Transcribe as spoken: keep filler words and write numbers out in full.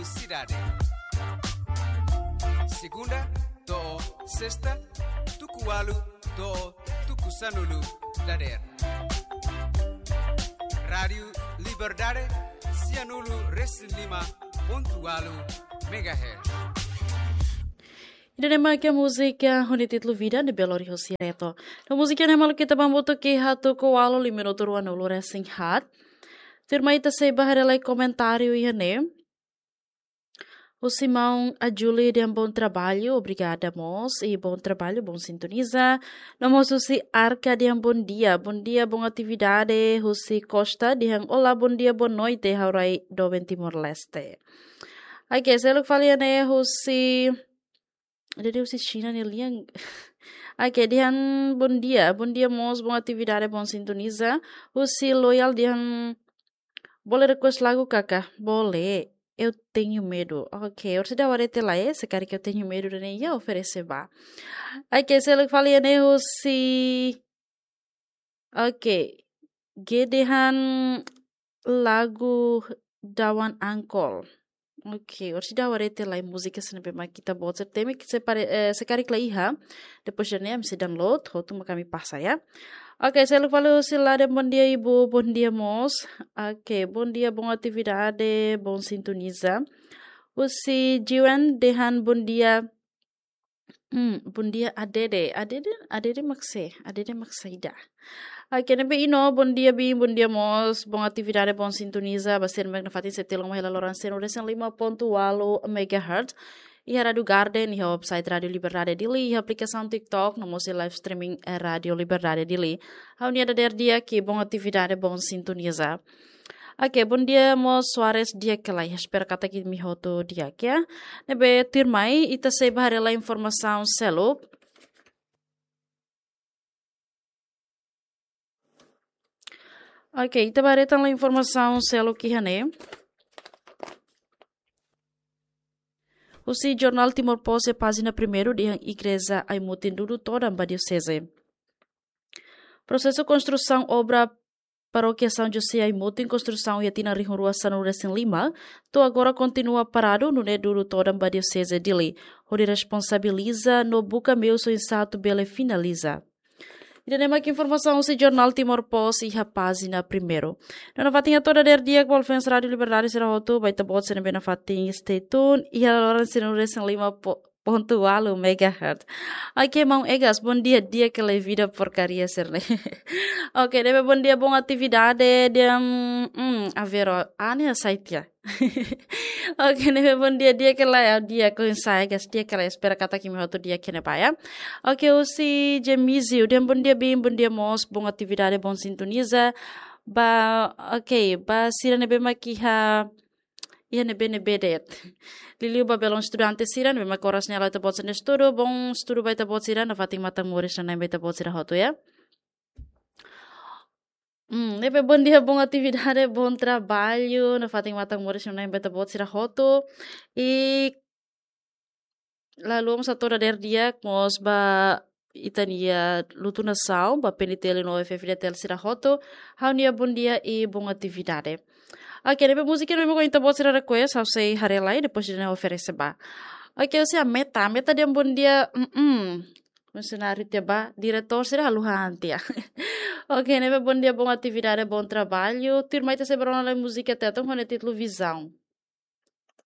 Sidade. Segunda to'o sesta, tuku ualu to'o tuku sanulu dadeer. Rádiu Liberdade, sianulu resin lima pontu ualu megahertz. Ida-ne'e mak múzika ho títulu Vida ne'ebé lori hosi Reto. No múzika ne'e maluk ita bá hamutuk iha tuku ualu, liu minutu ruanulu resin haat. Tuirmai ita sei bá haree lai komentáriu iha ne'e. Husi maun Ajuli dehan bom trabalho, obrigada mós, e bom trabalho, bom sintoniza. No mós husi Arka dehan bom dia, bom dia, bom atividade, husi Costa dehan olá, bom dia, boa noite, ha'u rai doben Timor-Leste. Oke, seluk fali iha ne'e husi, jadi husi Xina nia lian. Oke, dehan bom dia, bom dia mós, bom atividade, bom sintoniza. Husi Loyal dehan, boleh request lagu, Kaka? Boleh. Eu tenho medo. Oke, orsida warete lai, se karik Eu Tenho Medo ida-ne'e iha, oferese bá. Oke, seluk fali iha ne'e husi, oke, G dehan lagu Dawan Angkol. Oke, orsida warete lai múzika sira ne'ebé mak ita-boot sira temi, se pare, eh, se karik la iha, depois ida-ne'e ami sei download, hotu mak ami pasa, ya. Oke, seluk fali husi Laden, bom dia, Ibu, bom dia mós. Oke, bom dia, bom atividade, bom sintoniza. Husi Jiwan dehan bom dia, hmm, bom dia, Adede. Adede, Adede mak sé, Adede mak saida. Oke, ne'ebé Ino, bom dia, Bin, bom dia mós, bom atividade, bom sintoniza, ba sira ne'ebé nafatin sei tilun mai hela loron sianulu resin lima pontu ualu megahertz. Iha Rádiu Garden, iha website Rádiu Liberdade Dili, iha aplikasaun TikTok, no mós iha live streaming, eh, Rádiu Liberdade Dili. Ha'u-nia dadeer di'ak, bom atividade, bom sintoniza. Oke, bom dia mós Soares, di'ak ka lae, espera katak imi hotu di'ak, ya. Ne'ebé tuirmai, ita sei bá haree lai informasaun seluk. Oke, ita bá haree tan lai informasaun seluk iha ne'e. Husi jornál Timor Post iha pájina primeiru dehan Igreja Aimutin dudu todan ba dioseze. Prosesu konstrusaun obra Parókia São José Aimutin, konstrusaun iha tinan rihun rua sanulu resin lima, to'o agora kontinua paradu, nune'e dudu todan ba Dioseze Dili, hodi responsabiliza no buka meius oinsá atu bele finaliza. Ida-ne'e mak informasaun husi jornál Timor Post iha pájina primeiru. No nafatin hato'o dadeer di'ak ba fans Rádiu Liberdade sira hotu, ba ita-boot sira ne'ebé nafatin stay tune, iha loron sianulu resin lima po-, pontu ualu megahertz. Oke, maun Egas, bom dia, di'ak ka lae vida porcaria sira-ne'e. Oke, ne'ebé bom dia, bom atividade, dehan, hmm, Aveiro, ah, ne'e site ya. Oke, ne'ebé bom dia, di'ak ka lae, di'ak, oinsá Egas, di'ak ka lae, espera katak imi hotu di'ak iha ne'ebá, ya. Oke, husi Jemizio, dehan bom dia, Bin, bom dia mós, bom atividade, bom sintoniza. Ba, oke, ba sira ne'ebé mak iha iha ne'ebé-ne'ebé de'it. Liuliu ba belun estudante sira ne'ebé mak oras ne'e la'o ita-boot sira-nia estudu, bom estudu ba ita-boot sira, nafatin matan moris nanain ba ita-boot sira hotu, ya. Hmm, ne'ebé bom dia, bom atividade, bom trabalho, nafatin matan moris nanain ba ita-boot sira hotu. I lalu mós hato'o dadeer di'ak mós ba ita-nia lutu nasaun, ba P N T L no F F D T L sira hotu, ha'u-nia bom dia i bom atividade. Oke, ne'ebé múzika ne'ebé mak ita-boot sira request, ha'u sei haree lai, depois ida-ne'e oferese ba. Oke, husi Ameta, Ameta dehan bom dia, mm, funsionáriu tiha ba, diretór sira haluha an tiha. Oke, ne'ebé bom dia, bom atividade, bom trabalho. Tuirmai ita sei bá rona lai múzika Tetun ho nia títulu Visão.